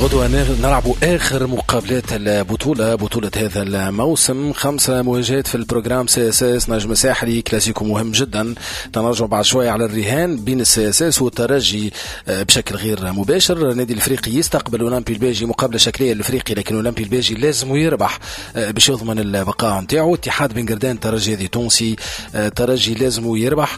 غدوة نلعبوا آخر مقابلات البطولة، بطولة هذا الموسم. 5 مواجهات في ال programme، CSS نجم ساحلي، كلاسيكو مهم جدا. تنرجع بعد شوية على الرهان بين ال CSS والترجي بشكل غير مباشر. النادي الافريقي يستقبل اولمبي الباجي، مقابلة شكلية للافريقي، لكن اولمبي الباجي لازم يربح باش يضمن البقاء نتاعو. اتحاد بن قردان ترجي هذه تونسي، ترجي لازم يربح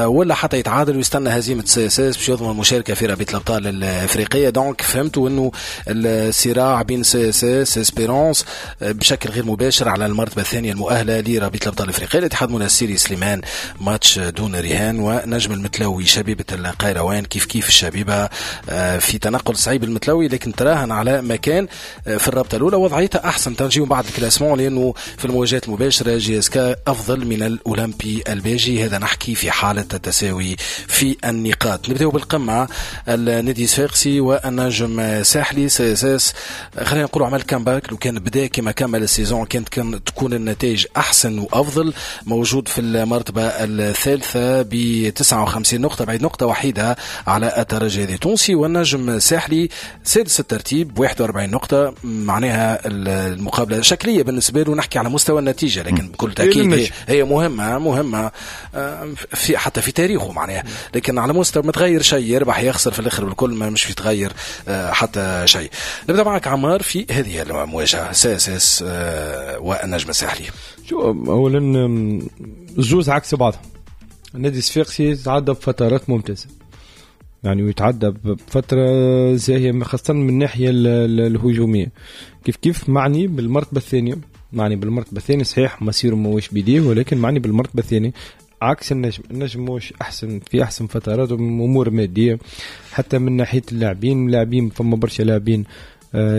ولا حتى يتعادل ويستنى هزيمة CSS باش يضمن المشاركة في رابطة الابطال الافريقية. donc فهمتوا انه الصراع بين CSS Espérance بشكل غير مباشر على المرتبة الثانية المؤهله لرابطه الابطال الافريقية. الاتحاد المنستيري سليمان ماتش دون رهان، ونجم المتلوي شبيبة القيروان كيف كيف الشبيبة في تنقل صعيب المتلوي، لكن تراهن على مكان في الرابطة الاولى وضعيتها احسن. تنجيو بعد ال classement لانه في المواجهات المباشرة JSK افضل من الاولمبي الباجي، هذا نحكي في حاله التساوي في النقاط. نبداو بالقمه، النادي الصفاقسي والنجم ساحلي. CSS خلينا نقولوا عمل comeback، لو كان بدا كما كمل ال saison كانت تكون النتائج احسن وافضل. موجود في المرتبة الثالثة ب 59 نقطة، بعيد نقطة وحيده على الترجي التونسي. والنجم ساحلي سادس الترتيب 41 نقطة، معناها المقابلة شكلية بالنسبة له، نحكي على مستوى النتيجة، لكن بكل تاكيد هي مهمة في حتى في تاريخه معناها، لكن على مستوى ما تغير شيء، يربح يخسر في الاخر بالكل ما مش يتغير حتى شيء. نبدا معك عمار في هذه المواجهة CSS والنجم الساحلي. شو اولا الزوز عكس بعضهم. النادي الصفاقسي تعدى بفترات ممتازة يعني، ويتعدى بفترة زاهيه خاصة من الناحية الهجومية. كيف كيف معني بالمرتبة الثانية، معني بالمرتبة الثانية صحيح مصيره ماهوش بيديه، ولكن معني بالمرتبة الثانية عكس النجم. النجم مش احسن في احسن فترات امور مادية حتى من ناحية اللاعبين، فما برشا لاعبين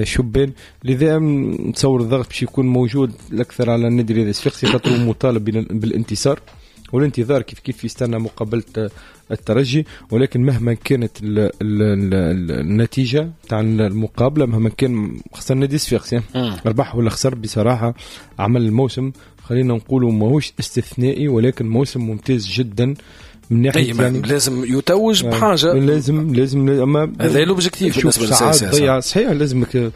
شبان، لذا نتصور الضغط باش يكون موجود الاكثر على النادي الرياضي الصفاقسي خاطر مطالب بالانتصار والانتظار كيف كيف يستنى مقابله الترجي. ولكن مهما كانت النتيجة تاع المقابلة، مهما كان خاصة النادي الصفاقسي ربح ولا خسر، بصراحة عمل الموسم خلينا نقولوا ماهوش استثنائي، ولكن موسم ممتاز جدا من ناحية يعني لازم يتوج بحاجة، لازم اما هذا l'objectif بالنسبة لل CSS. صحيح لازمك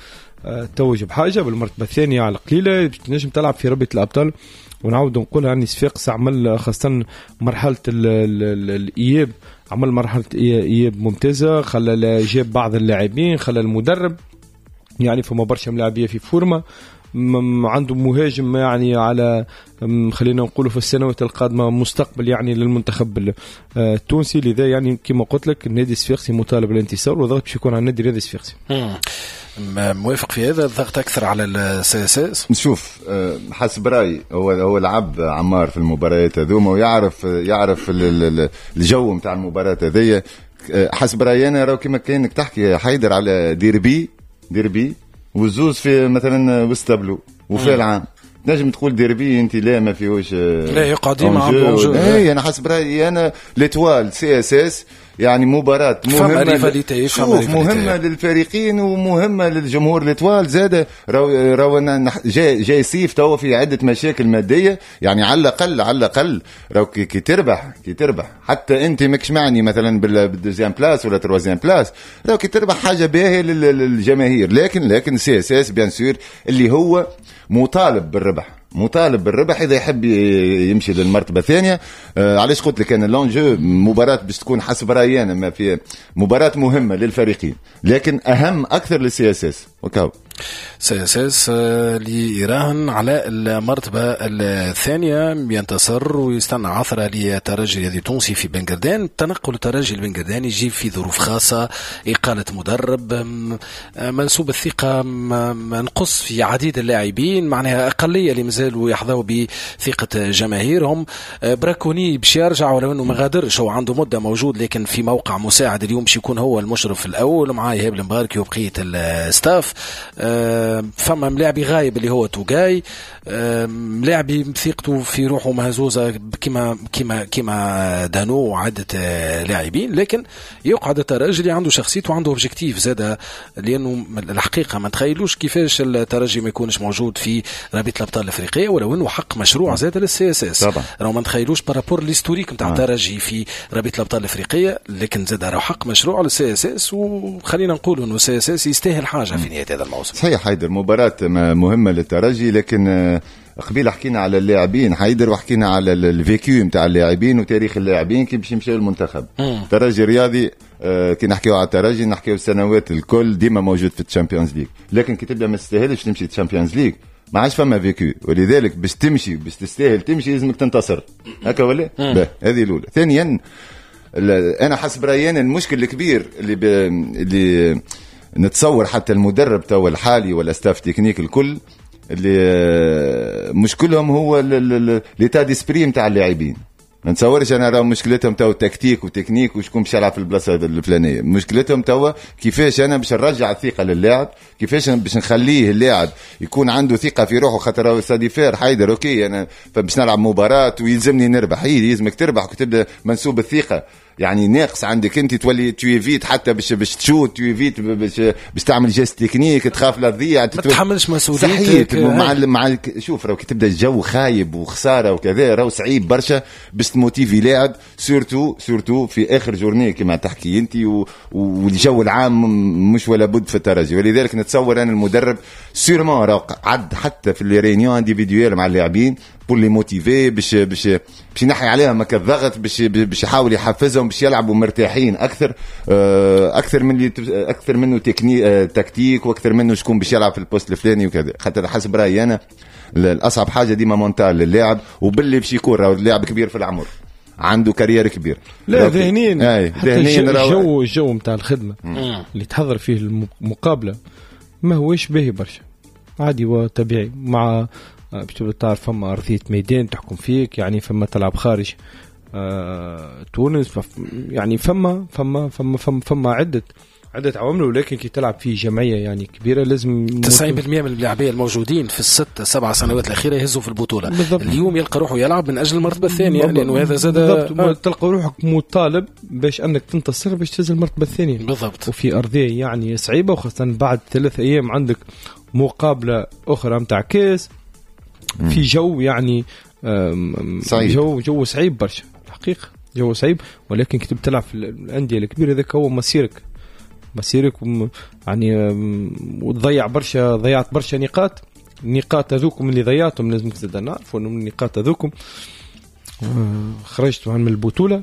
تتوج بحاجة بالمرتبة الثانية على القليلة باش تنجم تلعب في رابطه الابطال. ونعاود نقولها يعني صفاقس عمل خاصة مرحلة الاياب، عمل مرحلة اياب ممتازة، خلى جاب بعض اللاعبين، خلى المدرب يعني فما برشا ملاعبيه في forme، عنده مهاجم يعني على خلينا نقولوا في السنوات القادمة مستقبل يعني للمنتخب التونسي. لذا يعني كما قلت لك النادي الصفاقسي مطالب بالانتصار، والضغط باش يكون على النادي الرياضي الصفاقسي. موافق في هذا، الضغط اكثر على ال CSS. نشوف حسب رايي هو لعب عمار في المباريات هذوما ويعرف يعرف الجو نتاع المباراة هذيا. حسب رايي انا راهو كما كانك تحكي حيدر على ديربي والزوز في مثلا وسط تابلو وفي العام تنجم تقول ديربي انت لا ما فيهوش، لا يقعد ديما عنده. اي انا حسب رايي انا l'Étoile CSS يعني مباراة مهمة، شوف مهمة للفريقين ومهمة للجمهور. l'Étoile زاد راهو جاي صيف توا في عدة مشاكل مادية، يعني على الأقل راهو كي تربح حتى أنت ماكش معني مثلا بال deuxième place ولا troisième place، راهو كي تربح حاجة باهية للجماهير. لكن CSS bien sûr اللي هو مطالب بالربح اذا يحب يمشي للمرتبه الثانية. علاش قلت لك انا l'enjeu مباراة باش تكون حسب رايي انا ما في مباراة مهمة للفريقين، لكن اهم اكثر لل CSS. وكاو CSS اللي يراهن على المرتبة الثانية ينتصر ويستنى عثره لترجي الرياضي التونسي في بنقردان. تنقل الترجي البنقرداني يجي في ظروف خاصة، اقاله مدرب، منسوب الثقة نقص في عديد اللاعبين، معناها اقلية اللي مازالوا يحظوا بثقة جماهيرهم. براكوني باش يرجع ولو انه ما غادرش، هو عنده مده موجود لكن في موقع مساعد، اليوم باش يكون هو المشرف الاول مع ايهاب المباركي وبقية ال staff. هدف. فما ملاعبي غايب اللي هو توغاي، ملاعبي ثقته في روحه مهزوزة كيما دانو وعده لاعبين، لكن يقعد الترجي اللي عنده شخصيته وعنده objectif زاد، لانه الحقيقة ما تخيلوش كيفاش الترجي ما يكونش موجود في رابطه الابطال الافريقية، ولو انه حق مشروع زاد لل CSS. راهو ما نتخيلوش par rapport l'historique نتاع الترجي في رابطه الابطال الافريقية، لكن زاد راهو حق مشروع لل CSS، وخلينا نقولوا انه ال CSS يستاهل حاجة في نهاية هذا الموسم. صحيح حيدر، مباراة مهمة للترجي، لكن قبيل حكينا على اللاعبين حيدر، وحكينا على ال vécu نتاع اللاعبين وتاريخ اللاعبين كي باش يمشيو للمنتخب. الترجي الرياضي كي نحكيو على الترجي نحكيو السنوات الكل ديما موجود في ال Champions League، لكن كي تبدا ما تستاهلش تمشي ال Champions League ما عادش فما vécu، ولذلك باش تمشي باش تستاهل تمشي لازمك تنتصر هكا ولا؟ هذه الاولى. ثانيا انا حسب رايي أنا المشكل الكبير اللي نتصور حتى المدرب توا الحالي ولا staff technique الكل اللي مشكلهم هو l'état d'esprit نتاع اللاعبين. ما نتصورش انا راهو مشكلتهم تو tactique و technique وشكون باش يلعب في البلاصة الفلانية، مشكلتهم توا كيفاش انا باش نرجع الثقة للاعب، كيفاش باش نخليه اللاعب يكون عنده ثقة في روحه، خاطر ça diffère حيدر OK انا باش نلعب مباراة ويلزمني نربح، هي يلزمك تربح وتبدا منسوب الثقة يعني ناقص عندك انت، تولي tu évites حتى باش تشوت، tu évites باش تعمل geste technique، تخاف لا تضيع، ما تتحملش مسؤوليتك. مع شوف راهو كي تبدا الجو خايب وخسارة وكذا راهو صعيب برشا باش تموتيفي لاعب، surtout في اخر journée كما تحكي انت، والجو العام مش ولا بد في الترجي. ولذلك نتصور انا المدرب sûrement راهو عد حتى في les réunions individuelles مع اللاعبين pour les motiver، باش باش باش ينحي عليهم هكا الضغط، باش يحاول يحفزهم باش يلعبوا مرتاحين اكثر، اكثر من اللي اكثر منه tactique، واكثر منه شكون باش يلعب في ال poste الفلاني وكذا. خاطر حسب رايي انا الاصعب حاجة ديما mental للاعب، وباللي باش يكون راهو اللاعب كبير في العمر عنده carrière كبير. لا ذهنيا الجو نتاع الخدمة اللي تحضر فيه المقابلة ما هوش باهي برشا، عادي وطبيعي، مع باش تبدا تعرف فما ارضية ميدان تحكم فيك، يعني فما تلعب خارج تونس، يعني فما فما فما فما, فما عدة عوامل، ولكن كي تلعب في جمعية يعني كبيرة لازم 90% من اللاعبين الموجودين في 6-7 سنوات الأخيرة يهزوا في البطولة. بالضبط. اليوم يلقى روحه يلعب من أجل المرتبة الثانية، لأنه هذا زاد بالضبط. تلقى روحك مطالب باش أنك تنتصر باش تهز المرتبة الثانية. بالضبط. وفي أرضية يعني صعيبة، وخاصة بعد 3 أيام عندك مقابلة أخرى متاع كاس في جو يعني صعيب. جو صعيب برشا الحقيقة، جو صعيب، ولكن كي تلعب في الأندية الكبيرة هذاك هو مصيرك يعني، وتضيع برشا، ضيعت برشا نقاط، النقاط هذوكم اللي ضيعتهم لازم تزيد نعرفوا انه النقاط هذوكم خرجت من البطولة،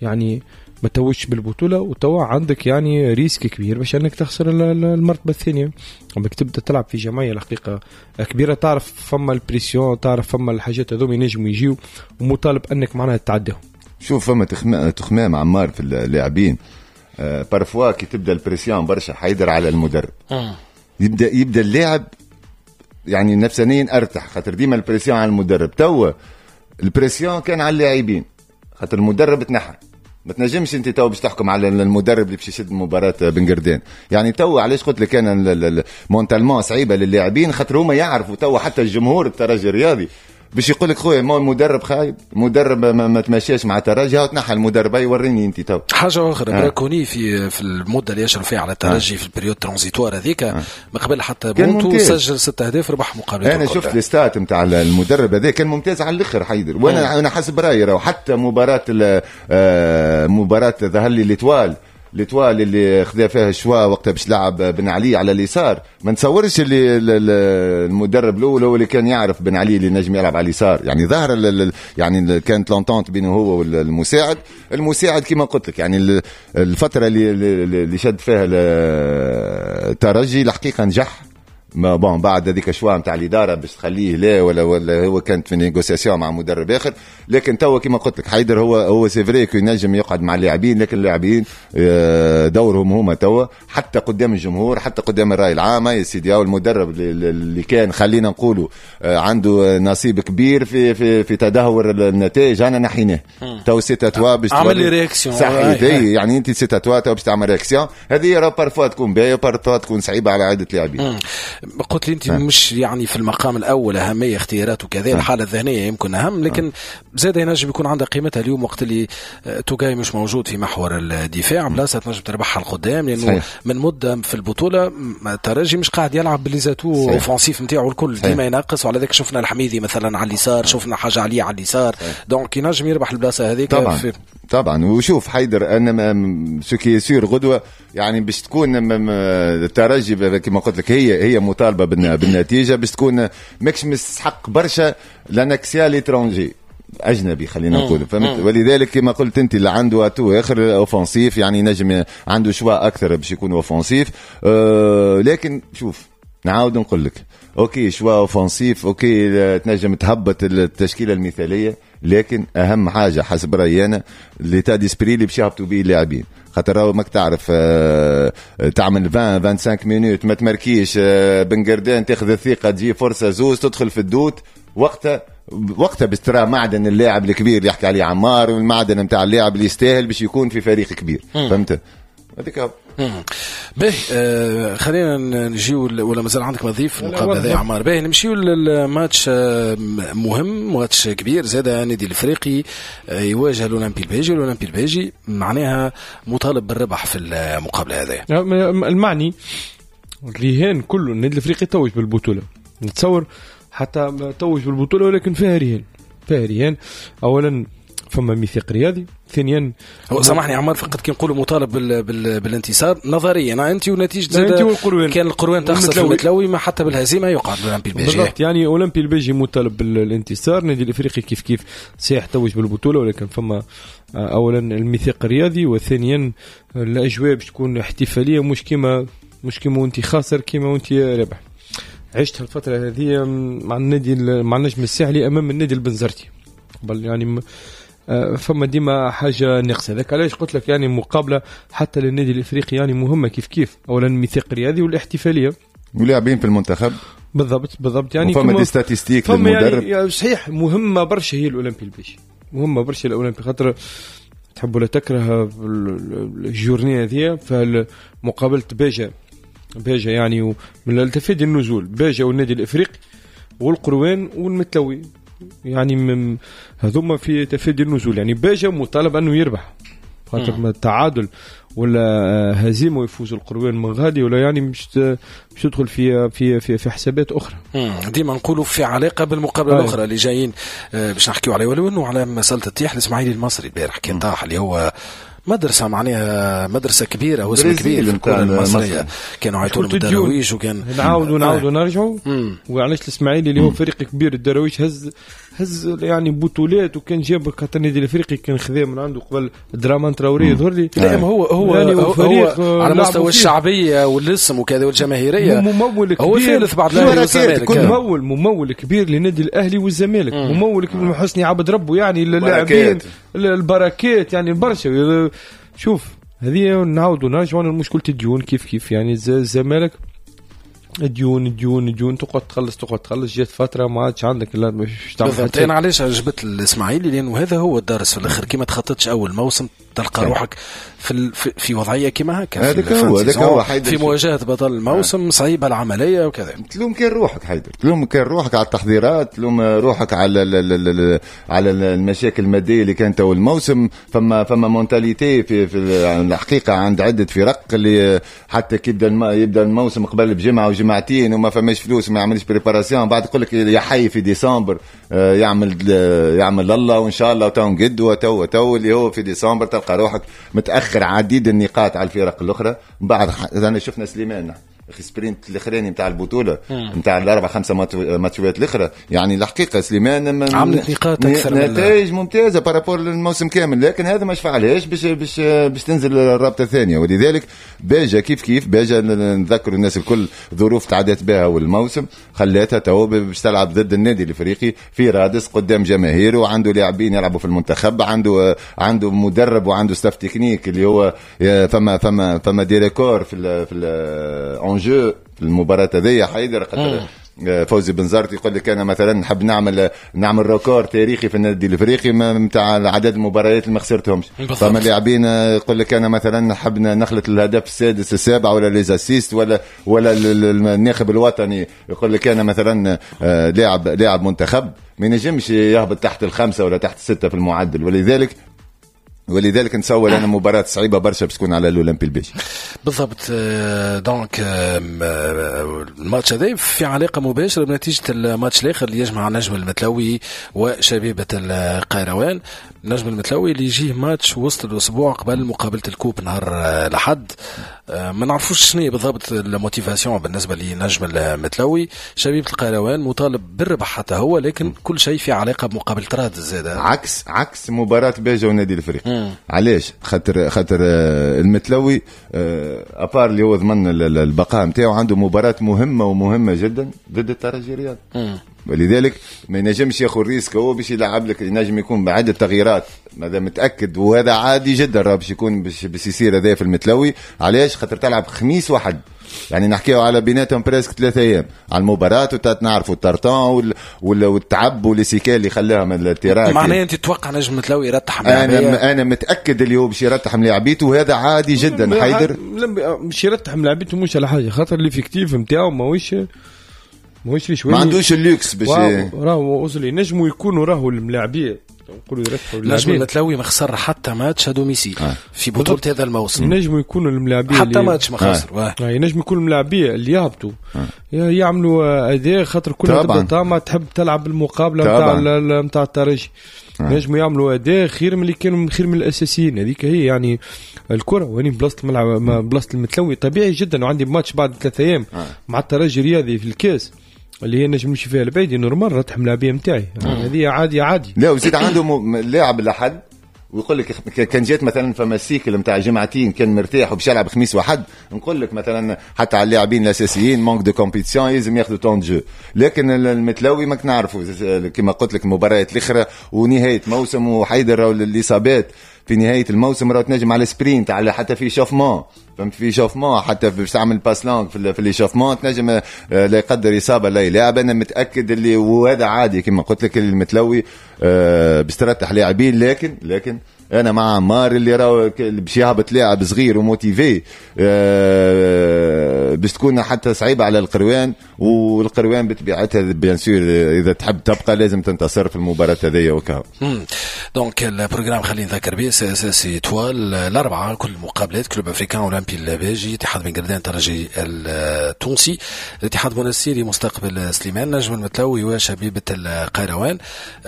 يعني ما توجش بالبطولة، وتوا عندك يعني risque كبير باش انك تخسر المرتبة الثانية. لما تبدا تلعب في جمعية الحقيقة كبيرة تعرف فما ال pression، تعرف فما الحاجات هذوم ينجموا يجيو، ومطالب انك معناها تعديهم. شوف فما تخمام عمار في اللاعبين، parfois كي تبدا ال pression برشا حيدر على المدرب، يبدا اللاعب يعني نفسانيا ارتاح، خاطر ديما ال pression على المدرب. توا ال pression كان على اللاعبين خاطر المدرب تنحى، ما تنجمش انت تو باش تحكم على المدرب اللي باش يشد مباراة بن قردان. يعني تو علاش قلت لك انا mentalement صعيبة للاعبين، خاطر هما يعرفوا تو حتى الجمهور الترجي الرياضي باش يقول لك خويا ما المدرب خايب، المدرب ما تمشاش مع الترجي، هاو تنحى المدرب يوريني انت تو. حاجة اخرى براكوني في المدة اللي يشرف فيها على الترجي في ال période transitoire هذيك ما قبل حتى بونتو سجل 6 اهداف ربح مقابلته. انا شفت les stats نتاع المدرب هذا كان ممتاز على الاخر حيدر، وانا انا حسب رايي راهو حتى مباراة مباراة ظهر لي l'Étoile اللي خذا فيها ال choix وقتها باش لعب بن علي على اليسار، ما نتصورش اللي المدرب الاول هو اللي كان يعرف بن علي اللي نجم يلعب على اليسار، يعني ظهر يعني كانت l'entente بينه هو والمساعد. المساعد كما قلت لك يعني الفترة اللي شد فيها الترجي الحقيقة نجح ما bon بعد هذيك choix نتاع الادارة باش تخليه لا ولا هو كانت في négociation مع مدرب اخر. لكن توا كما قلت لك حيدر هو c'est vrai que ينجم يقعد مع اللاعبين، لكن اللاعبين دورهم هما توا حتى قدام الجمهور، حتى قدام الراي العام. يا سيدي المدرب اللي كان خلينا نقولوا عنده نصيب كبير في في في تدهور النتائج، انا نحيناه تو c'est à toi باش عمل réaction. صحيح، يعني انت c'est à toi تو باش تعمل réaction. هذه راه parfois تكون باهيه، parfois تكون صعيبة على عده لاعبين. قلت لي انت مش يعني في المقام الاول اهمية اختيارات وكذا، الحالة الذهنية يمكن اهم، لكن زاد ينجم يكون عندها قيمتها اليوم وقت اللي توغاي مش موجود في محور الدفاع، بلاصة تنجم تربحها القدام، لانه صحيح. من مده في البطولة الترجي مش قاعد يلعب ب les atouts offensifs نتاعو الكل، ديما ينقص، وعلى ذلك شفنا الحميدي مثلا على اليسار، شفنا حاجة عليه على اليسار، donc ينجم يربح البلاصة هذيك. طبعا في طبعا. وشوف حيدر، انا ce qui est sûr غدوه يعني باش تكون الترجي كما قلت لك هي مطالبه بالنتيجة، باش تكون ماكش مستحق برشا l'un axial étranger اجنبي خلينا نقول، فهمت؟ ولذلك كما قلت انت اللي عنده atout اخر offensif، يعني نجم عنده choix اكثر باش يكون offensif. لكن شوف نعاود نقول لك OK choix offensif، OK تنجم تهبط التشكيلة المثاليه، لكن اهم حاجة حسب رايي انا l'état d'esprit اللي باش يهبطوا به اللاعبين، خاطر راهو ماك تعرف تعمل 20 25 minutes ما تماركيش، بن قردان تاخذ الثقه، تجي فرصة زوز تدخل في ال doute، وقتها باش ترى معدن اللاعب الكبير اللي يحكي عليه عمار، والمعدن نتاع اللاعب اللي يستاهل باش يكون في فريق كبير، فهمت؟ هذيك. باهي، خلينا نجيو، ولا مازال عندك ما تضيف في المقابلة هذه عمار؟ باهي، نمشيو للماتش مهم، ماتش كبير زاد، النادي الافريقي يواجه الاولمبي الباجي، الاولمبي الباجي معناها مطالب بالربح في المقابلة هذه. المعني الرهان كله النادي الافريقي توج بالبطوله، نتصور حتى توج بالبطولة ولكن فيها رهان، فيها رهان. اولا فما ميثاق رياضي، ثانيا هو سامحني عمار، فقط كي نقولوا مطالب بالانتصار نظريا انت ونتيجة زاد كان القروان تخسر في المتلوي، ما حتى بالهزيمة يقعد الاولمبي الباجي. بالضبط، يعني اولمبي الباجي مطالب بالانتصار، النادي الافريقي كيف كيف صحيح توج بالبطولة، ولكن فما اولا الميثاق الرياضي، وثانيا الاجواء باش تكون احتفالية، مش كيما وانت خاسر كيما وانت رابح. عشت الفترة هذه مع النادي، مع النجم الساحلي امام النادي البنزرتي قبل، يعني فما ديما حاجة ناقصه. هذاك علاش قلت لك يعني مقابله حتى للنادي الافريقي يعني مهمة كيف كيف، اولا الميثاق الرياضي والاحتفاليه ولاعبين في المنتخب. بالضبط بالضبط، يعني فما des statistiques للمدرب يعني صحيح مهمة برشا هي الاولمبي الباجي، مهمة برشا الاولمبي، خاطر تحب ولا تكره ال journée هذه، فمقابله باجة يعني من تفادي النزول، باجة والنادي الافريقي والقروان والمتلوي، يعني من هذوما في تفادي النزول، يعني باجة مطالب انه يربح، خاطر التعادل ولا هزيمة ويفوز القروان من غادي ولا يعني مش تدخل في في في, في حسابات اخرى. ديما نقولوا في علاقة بالمقابلة الاخرى اللي جايين باش نحكيو عليه، ولو انه على مسالة التيح الاسماعيلي المصري البارح كان طاح، اللي هو مدرسة معناها مدرسة كبيرة واسم كبير في الكرة المصرية، كانوا عيطوا لهم الدراويش، وكان نعاودوا نرجعوا. وعلاش الإسماعيلي اللي هو فريق كبير الدراويش هز يعني بطولات، وكان جاب خاطر النادي الافريقي كان خذاه من عنده قبل درامان تراوري يظهر لي. لا هو يعني هو على مستوى الشعبية والاسم وكذا والجماهيرية ممول كبير، هو ثالث بعد الأهلي والزمالك، ممول كبير للنادي الأهلي والزمالك، ممول كبير حسني عبد ربه، يعني اللاعبين البركات يعني برشا. شوف هذه نعاودوا نرجعوا لمشكلة الديون كيف كيف، يعني الزمالك ديون ديون ديون، تقعد تخلص، جات فترة ما عادش عندك لا مش تعمل. بالضبط، انا علاش عجبت الاسماعيلي لانه هذا هو الدرس في الاخر، كي ما تخططش اول موسم تلقى روحك في وضعية كيما هكا، هذاك هو في مواجهة بطل الموسم صعيبة العملية وكذا. تلوم كان روحك حيدر، تلوم كان روحك على التحضيرات، تلوم روحك على على المشاكل المادية اللي كانت اول الموسم. فما mentalité في الحقيقة عند عده فرق اللي حتى كي يبدا الموسم قبل بجمعه وجمعتين وما فماش فلوس وما يعملش préparation، بعد يقول لك يا حي في ديسمبر يعمل الله وان شاء الله تو نقد وتو تو اللي هو في ديسمبر تلقى روحك متاخر عديد النقاط على الفرق الاخرى. من بعد انا شفنا سليمان sprint الاخراني نتاع البطولة نتاع الاربع خمسة ماتشات الاخرى. يعني الحقيقة سليمان عملت نقاط اكثر، نتائج ممتازة par rapport للموسم كامل، لكن هذا ما شفعلهاش باش تنزل الرابطة الثانية. ولذلك باجا كيف كيف، باجا نذكر الناس الكل ظروف تعدت بها والموسم خلاتها تو باش تلعب ضد النادي الافريقي في رادس قدام جماهيره، وعنده لاعبين يلعبوا في المنتخب، عنده مدرب وعنده staff technique اللي هو فما des records في en jeu في المباراة هذه. حيدر خاطر فوزي بنزرت يقول لك انا مثلا نحب نعمل record تاريخي في النادي الافريقي نتاع عدد المباريات اللي ما خسرتهمش. فما لاعبين يقول لك انا مثلا نحب نخلط الهدف السادس السابع ولا les assists ولا الناخب الوطني يقول لك انا مثلا لاعب منتخب ما ينجمش يهبط تحت الخمسة ولا تحت الستة في المعدل. ولذلك نتصور انا مباراة صعيبة برشا باش تكون على الاولمبي الباجي. بالضبط. donc الماتش هذا في علاقة مباشرة بنتيجة الماتش الاخر اللي يجمع نجم المتلوي وشبيبه القيروان. نجم المتلوي اللي يجيه ماتش وسط الاسبوع قبل مقابله ال coupe نهار الاحد. ما نعرفوش شنو بالضبط ال motivation بالنسبة لنجم المتلوي. شبيبة القيروان مطالب بالربح حتى هو، لكن كل شيء في علاقة بمقابله رادس زاد، عكس مباراة باجا والنادي الافريقي. علاش؟ خاطر المتلوي à part اللي هو ضمن البقاء نتاعو عنده مباراة مهمة ومهمة جدا ضد الترجي الرياضي، ولذلك ما ينجمش ياخذ risque هو باش يلعب لك، ينجم يكون بعدة تغييرات هذا متاكد، وهذا عادي جدا راه باش يكون باش يصير هذا في المتلوي. علاش؟ خاطر تلعب خميس وحد، يعني نحكيو على بيناتهم presque 3 ايام على المباراة، وتعرفوا ال tartan والتعب و les séquelles اللي خلاها من ال terrain. معناها انت تتوقع نجم متلوي يرتح ملاعبيه؟ انا متاكد اللي هو باش يرتح ملاعبيته، وهذا عادي جدا. حيدر باش يرتح ملاعبيته مش على حاجة، خاطر l'effectif نتاعو ماهوش شوية، ما عندوش اللوكس باش راهو وصل ينجموا يكونوا راهو الملاعبيه نقولوا يرتحوا. نجم المتلوي ما خسر حتى match à domicile في بطولة هذا الموسم. ينجموا يكونوا الملاعبيه حتى ماتش ما خسر. ينجموا يكونوا الملاعبيه اللي يهبطوا يعملوا اداء، خاطر كلها تبدا طامة تحب تلعب المقابلة نتاع الترجي. نجموا يعملوا اداء خير من اللي كانوا، خير من الاساسيين. هذيك هي يعني الكره. وين بلاصة الملعب بلاصة المتلوي طبيعي جدا، وعندي ماتش بعد 3 ايام مع الترجي الرياضي في الكاس اللي هي نجم نمشي فيها البعيد، normal رتح ملاعبيه نتاعي هذه عادي عادي. لا وزيد عنده لاعب لحد ويقول لك كان جات مثلا فما cycle نتاع جمعتين كان مرتاح وباش يلعب خميس وحد، نقول لك مثلا حتى على اللاعبين الاساسيين manque de compétition لازم ياخذوا temps de jeu. لكن المتلوي ماك نعرفوا كما قلت لك المباريات الاخرى ونهاية موسم، وحيدر الاصابات في نهاية الموسم راه تنجم على sprint، على حتى في échauffement، فهمت، في échauffement حتى باش تعمل passe longue في l'échauffement تنجم لا يقدر اصابه لا يلعب. انا متاكد اللي وهذا عادي كما قلت لك المتلوي باش ترتح لاعبين، لكن انا مع عمار اللي راهو باش يهبط لاعب صغير و motivé باش تكون حتى صعيبة على القروان، والقروان بطبيعتها bien sûr اذا تحب تبقى لازم تنتصر في المباراة هذيا وكا. donc ال programme خلينا نذكر به CSS Étoile الاربعة كل المقابلات، Club Africain اولمبي الباجي، اتحاد بن قردان ترجي التونسي، الاتحاد المنستيري مستقبل سليمان، نجم المتلوي وشبيبه القيروان،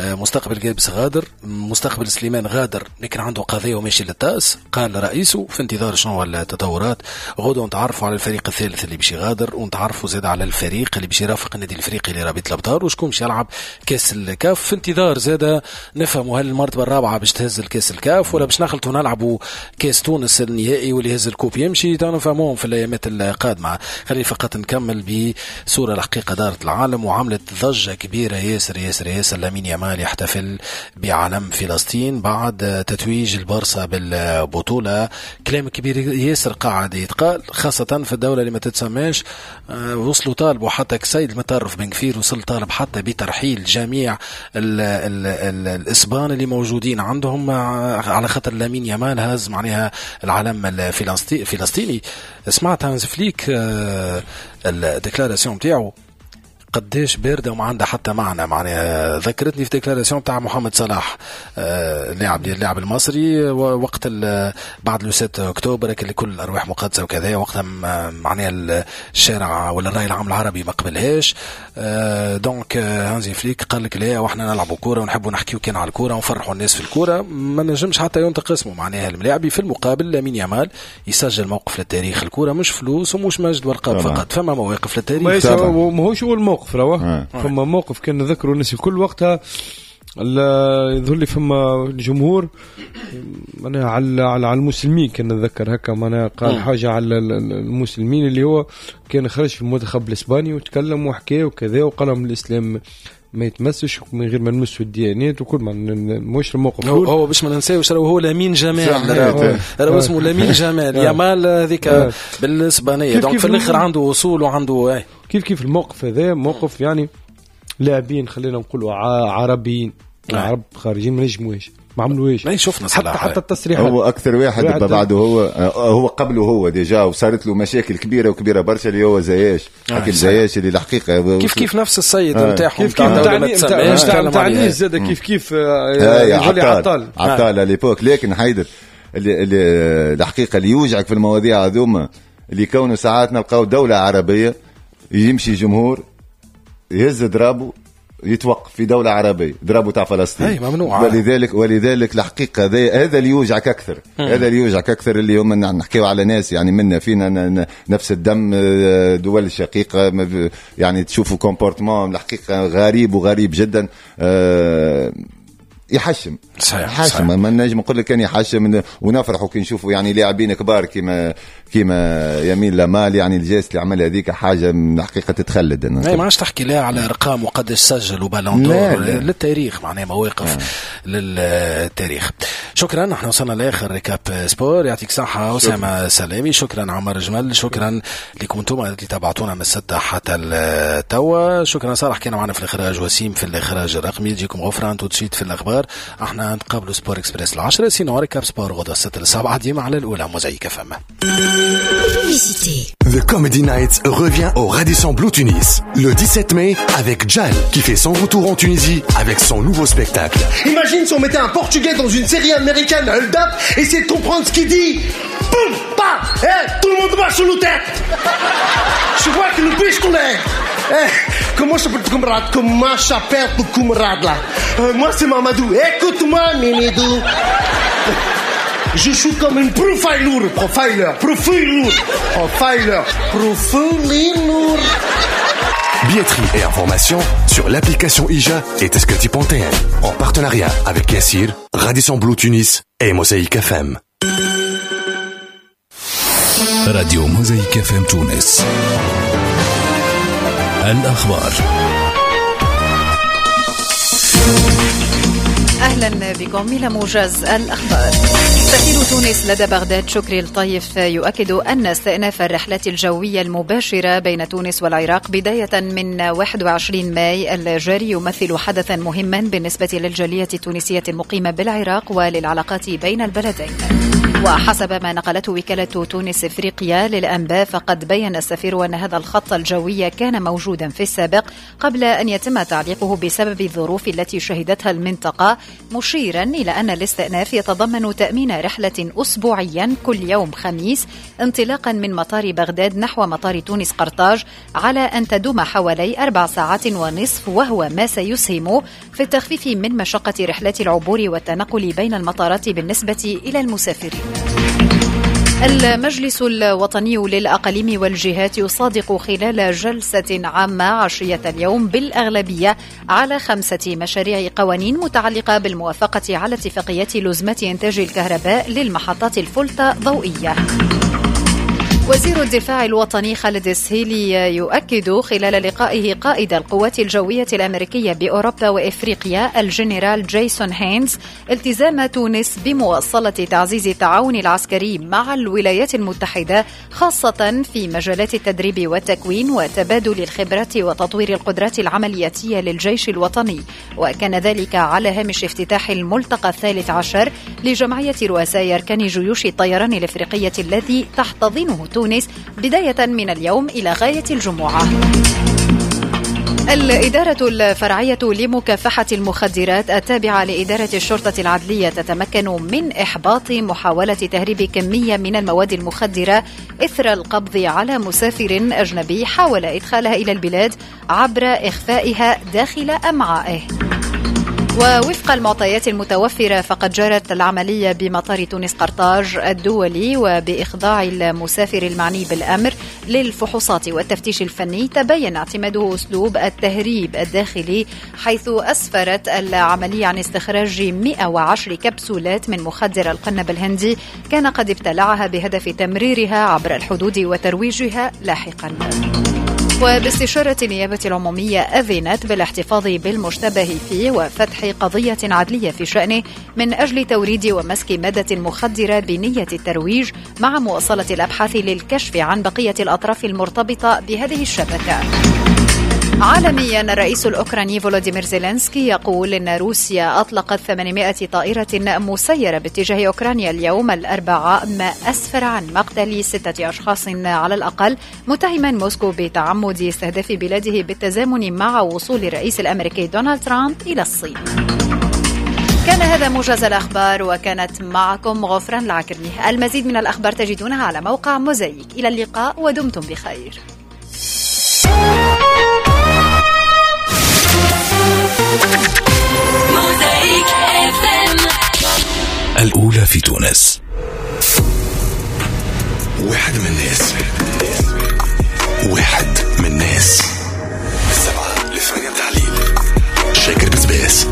مستقبل قابس غادر، مستقبل سليمان غادر لكن عنده قضية وماشي للتاس قال رئيسه، في انتظار شنو التطورات. غدوه نتعرفوا على الفريق الثالث اللي باش يغادر، ونتعرفوا زاد على الفريق اللي باش يرافق النادي الافريقي لرابطه الابطال وشكون باش يلعب كاس الكاف. في انتظار زاد نفهموا هل المرتبة الرابعة باش تهز الكاس الكاف ولا باش نخلطوا نلعبوا كاس تونس النهائي واللي يهز ال coupe يمشي، نفهموهم في الايامات القادمة. خليني فقط نكمل بصورة الحقيقة دارت العالم وعملت ضجه كبيرة ياسر ياسر ياسر. لامين يامال يحتفل بعلم فلسطين بعد تتويج البارسا بالبطولة. كلام كبير ياسر قاعد يتقال خاصة في الدولة اللي ما تتسماش. وصلوا طالبوا حتى كسيد المطرف بن كفير وصل طالب حتى بترحيل جميع ال ال ال الاسبان اللي موجودين عندهم على خاطر لامين يامال هز معناها العلم الفلسطيني. سمعت هانز فليك ال déclaration نتاعو قداش باردة وما عندها حتى معنى. معناها ذكرتني في déclaration تاع محمد صلاح اللاعب المصري وقت بعد le 6 اكتوبر كل الارواح مقدسة وكذا، وقتها معناها الشارع ولا الراي العام العربي ما قبلهاش. donc هانزي فليك قال لك لا، واحنا نلعبوا كورة ونحبوا نحكيو كان على الكورة ونفرحوا الناس في الكورة، ما نجمش حتى ينطق اسمه معناها الملاعبي. في المقابل لامين يامال يسجل موقف للتاريخ. الكورة مش فلوس ومش مجد والقاب فقط، فما مواقف للتاريخ. ماهوش اول موقف رواه، فما موقف كان نذكروا الناس الكل وقتها، يظهر لي فما الجمهور معناها على المسلمين، كان نتذكر هكا معناها قال حاجة على المسلمين اللي هو كان خرج في المنتخب الاسباني وتكلم وحكى وكذا وقال لهم الاسلام ما يتمسش من غير ما نمسوا الديانات وكل، ما مش الموقف هو باش ما ننساوش هو لامين جمال، راهو اسمه لامين جمال يامال هذيك بالاسبانيه. donc في الاخر عنده وصول وعنده كيف الموقف هذا موقف يعني لاعبين خلينا نقولوا عربيين عرب خارجين ما نجموش ما عملوش. شفنا حتى التصريحات هو اكثر واحد بعده هو قبله هو déjà وصارت له مشاكل كبيرة وكبيره برشا اللي هو زياش، حكيم زياش اللي الحقيقة كيف نفس السيد نتاعهم كيف نتاع زاد كيف يولي عطال à l'époque. لكن حيدر اللي الحقيقة اللي يوجعك في المواضيع هذوما اللي كونوا ساعات نلقاو دولة عربية يمشي جمهور يهز ضرابه يتوقف في دولة عربية ضربوا تاع فلسطين. أي ممنوع. ولذلك الحقيقة هذا اللي يوجعك أكثر. هذا اللي يوجعك أكثر اللي هم نحكيو على ناس يعني منا فينا نفس الدم، دول الشقيقة يعني تشوفوا comportement الحقيقة غريب وغريب جدا. يحشم. صحيح. يحشم، ما نجم نقول لك كان يحشم، ونفرحوا كي نشوفوا يعني لاعبين كبار كيما يمين لامال، يعني ال geste اللي عمل هذيك حاجة من الحقيقة تتخلد. ما عادش تحكي لا على ارقام وقداش سجل و ballon d'or للتاريخ، معناها مواقف للتاريخ. شكرا، نحن وصلنا لاخر récap sport. يعطيك صحة اسامة سلامي، شكرا عمر جمل، شكرا لكم انتم اللي تابعتونا من 6 حتى التوا. شكرا صالح كان معنا في الاخراج، وسيم في الاخراج الرقمي، يجيكم غفران tout de suite في الاخبار. احنا نتقابلوا Sport Express 10، sinon récap sport غدا 6-7 ديما على الاولى موزايك FM. The Comedy Nights revient au Radisson Blu Tunis le 17 mai avec Jal qui fait son retour en Tunisie avec son nouveau spectacle. Imagine si on mettait un Portugais dans une série américaine, Hold Up, essayez de comprendre ce qu'il dit. Boum, pa, eh, tout le monde marche sur nos têtes. Je vois que le pistolet. Eh, comment s'appelle ton camarade? Comment s'appelle ton camarade là? Moi c'est Mamadou. Écoute-moi, Mimidou. Je suis comme une profiler, profiler, profiler, profiler, profiler. Billetterie et informations sur l'application IJA et Teskerti.tn en partenariat avec Yassir, Radisson Blu Tunis et Mosaïque FM. Radio Mosaïque FM Tunis. الأخبار. أهلا بكم إلى موجز الأخبار. سفير تونس لدى بغداد شكري الطيف يؤكد أن استئناف الرحلات الجوية المباشرة بين تونس والعراق بداية من 21 ماي الجاري يمثل حدثا مهما بالنسبة للجالية التونسية المقيمة بالعراق وللعلاقات بين البلدين. وحسب ما نقلته وكالة تونس إفريقيا للأنباء، فقد بين السفير أن هذا الخط الجوي كان موجودا في السابق قبل أن يتم تعليقه بسبب الظروف التي شهدتها المنطقة، مشيرا إلى أن الاستئناف يتضمن تأمين رحلة أسبوعيا كل يوم خميس انطلاقا من مطار بغداد نحو مطار تونس قرطاج، على أن تدوم حوالي 4.5 ساعات، وهو ما سيسهم في التخفيف من مشقة رحلات العبور والتنقل بين المطارات بالنسبة إلى المسافرين. المجلس الوطني للأقاليم والجهات يصادق خلال جلسة عامة عشية اليوم بالأغلبية على 5 مشاريع قوانين متعلقة بالموافقة على اتفاقية لزمة إنتاج الكهرباء للمحطات الفولتا ضوئية. وزير الدفاع الوطني خالد السهيلي يؤكد خلال لقائه قائد القوات الجوية الأمريكية بأوروبا وإفريقيا الجنرال جيسون هينز التزام تونس بمواصلة تعزيز التعاون العسكري مع الولايات المتحدة، خاصة في مجالات التدريب والتكوين وتبادل الخبرات وتطوير القدرات العملياتية للجيش الوطني. وكان ذلك على هامش افتتاح الملتقى 13 لجمعية رؤساء أركان جيوش الطيران الإفريقية الذي تحتضنه تونس بداية من اليوم إلى غاية الجمعة. الإدارة الفرعية لمكافحة المخدرات التابعة لإدارة الشرطة العدلية تتمكن من إحباط محاولة تهريب كمية من المواد المخدرة إثر القبض على مسافر أجنبي حاول إدخالها إلى البلاد عبر إخفائها داخل أمعائه. ووفق المعطيات المتوفرة فقد جرت العملية بمطار تونس قرطاج الدولي، وبإخضاع المسافر المعني بالأمر للفحوصات والتفتيش الفني تبين اعتماده أسلوب التهريب الداخلي، حيث أسفرت العملية عن استخراج 110 كبسولات من مخدر القنب الهندي كان قد ابتلعها بهدف تمريرها عبر الحدود وترويجها لاحقا. وباستشارة النيابة العمومية أذنت بالاحتفاظ بالمشتبه فيه وفتح قضية عدلية في شأنه من أجل توريد ومسك مادة مخدرة بنية الترويج، مع مواصلة الأبحاث للكشف عن بقية الأطراف المرتبطة بهذه الشبكة. عالميا، الرئيس الأوكراني فولوديمير زيلينسكي يقول إن روسيا أطلقت 800 طائرة مسيرة باتجاه أوكرانيا اليوم الأربعاء، ما أسفر عن مقتل 6 أشخاص على الأقل، متهما موسكو بتعمد استهداف بلاده بالتزامن مع وصول الرئيس الأمريكي دونالد ترامب إلى الصين. كان هذا موجز الأخبار، وكانت معكم غفران العكرمي. المزيد من الأخبار تجدونها على موقع موزايك. إلى اللقاء ودمتم بخير. الأولى في تونس. واحد من الناس، واحد من الناس، 7 ل 8 تعليل، شاكر بسباس.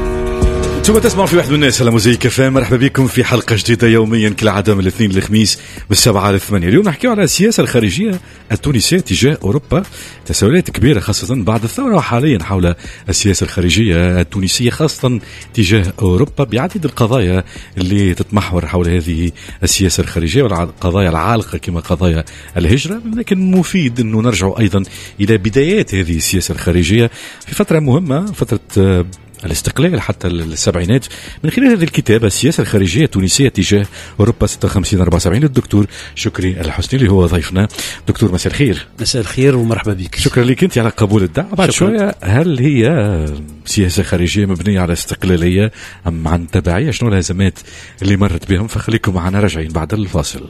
انتم تسمعوا في واحد من الناس على موزايك اف ام. مرحبا بكم في حلقة جديدة يوميا كالعادة من الاثنين للخميس من 7 ل 8. اليوم نحكيو على السياسة الخارجية التونسية تجاه اوروبا، تساؤلات كبيرة خاصة بعد الثورة وحاليا حول السياسة الخارجية التونسية خاصة تجاه اوروبا، بعديد القضايا اللي تتمحور حول هذه السياسة الخارجية والقضايا العالقة كما قضايا الهجرة. لكن مفيد انه نرجع ايضا الى بدايات هذه السياسة الخارجية في فترة مهمة، فترة الاستقلال حتى السبعينات، من خلال هذه الكتابة السياسة الخارجية التونسية تجاه أوروبا 56-74 للدكتور شكري الحسني اللي هو ضيفنا. دكتور مساء الخير. مساء الخير ومرحبا بك. شكرا لك أنت على قبول الدعوة. بعد شوية، هل هي سياسة خارجية مبنية على استقلالية أم عن تبعية؟ شنو الهزمات اللي مرت بهم؟ فخليكم معنا راجعين بعد الفاصل.